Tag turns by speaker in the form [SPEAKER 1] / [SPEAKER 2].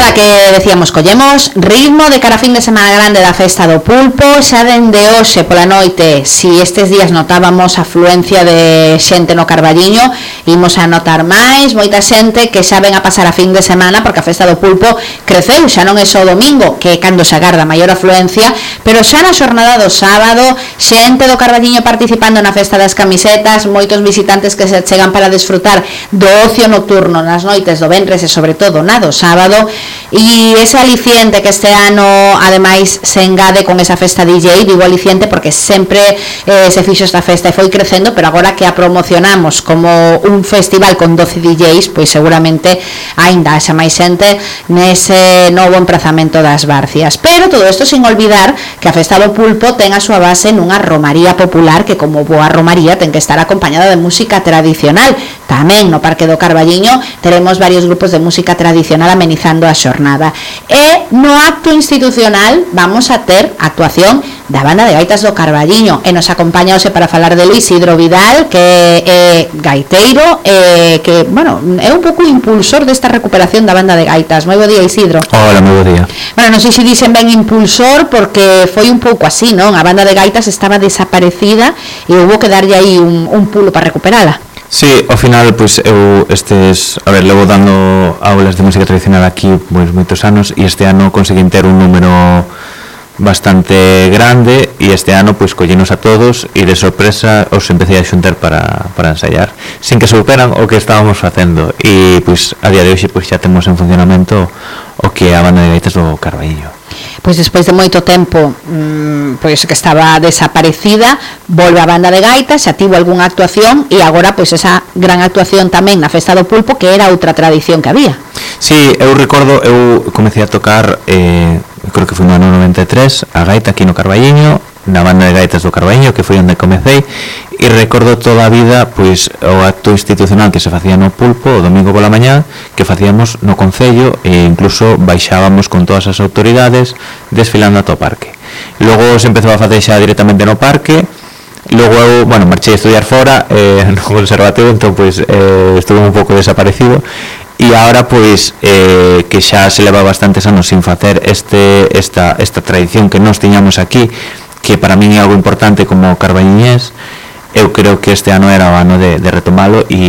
[SPEAKER 1] agora que decíamos, collemos ritmo de cara a fin de semana grande da festa do pulpo, xa dende hoxe pola noite, si estes días notábamos afluencia de xente no Carballiño, imos a notar máis, moita xente que xa ven a pasar a fin de semana, porque a festa do pulpo creceu, xa non é só o domingo, que é cando se agarda maior afluencia, pero xa na xornada do sábado, xente do Carballiño participando na festa das camisetas, moitos visitantes que se chegan para desfrutar do ocio nocturno nas noites do venres e sobre todo na do sábado, e ese aliciente que este ano ademais se engade con esa festa DJ, digo aliciente porque sempre se fixo esta festa e foi crecendo, pero agora que a promocionamos como un festival con 12 DJs, pois seguramente aínda haxa máis xente nese novo emprazamento das Barcias. Pero todo isto sin olvidar que a festa do pulpo ten a súa base nunha romaría popular que, como boa romaría, ten que estar acompañada de música tradicional. Tamén no Parque do Carballiño teremos varios grupos de música tradicional amenizando a xornada, e no acto institucional vamos a ter actuación da Banda de Gaitas do Carballiño, e nos acompaña hoxe para falar de Isidro Vidal, que é gaiteiro, que, bueno, é un pouco impulsor desta recuperación da Banda de Gaitas. Moi bo día, Isidro.
[SPEAKER 2] Hola, moi bo día.
[SPEAKER 1] Bueno, non sei se dixen ben impulsor, porque foi un pouco así, non? A Banda de Gaitas estaba desaparecida e houve que darlle aí un pulo para recuperala.
[SPEAKER 2] Sí, ao final, pois, eu levo dando aulas de música tradicional aquí pois moitos anos, e este ano conseguín ter un número bastante grande, e este ano pois collenos a todos e de sorpresa os empecé a xuntar para ensaiar, sin que superan o que estábamos facendo, e pois a día de hoxe pois xa temos en funcionamento o que é a Banda de Gaitas do Carballiño.
[SPEAKER 1] Pois despois de moito tempo pois que estaba desaparecida, volve a Banda de Gaitas, xa tivo algunha actuación, e agora pois esa gran actuación tamén na festa do pulpo, que era outra tradición que había.
[SPEAKER 2] Sí, eu recordo, eu comecei a tocar, creo que foi no ano 93, a gaita aquí no Carballiño, na Banda de Gaitas do Carballiño, que foi onde comecei, e recordo toda a vida pois o acto institucional que se facía no pulpo o domingo pola mañá, que facíamos no concello, e incluso baixábamos con todas as autoridades desfilando ata o parque. Logo se empezou a facer xa directamente no parque. Logo eu, bueno, marchei a estudiar fora no conservatorio, entón pois estuve un pouco desaparecido, e agora pois que xa se leva bastantes anos sin facer esta tradición que nós tiñamos aquí, que para min é algo importante como carballiñés. Eu creo que este ano era o ano de retomalo, e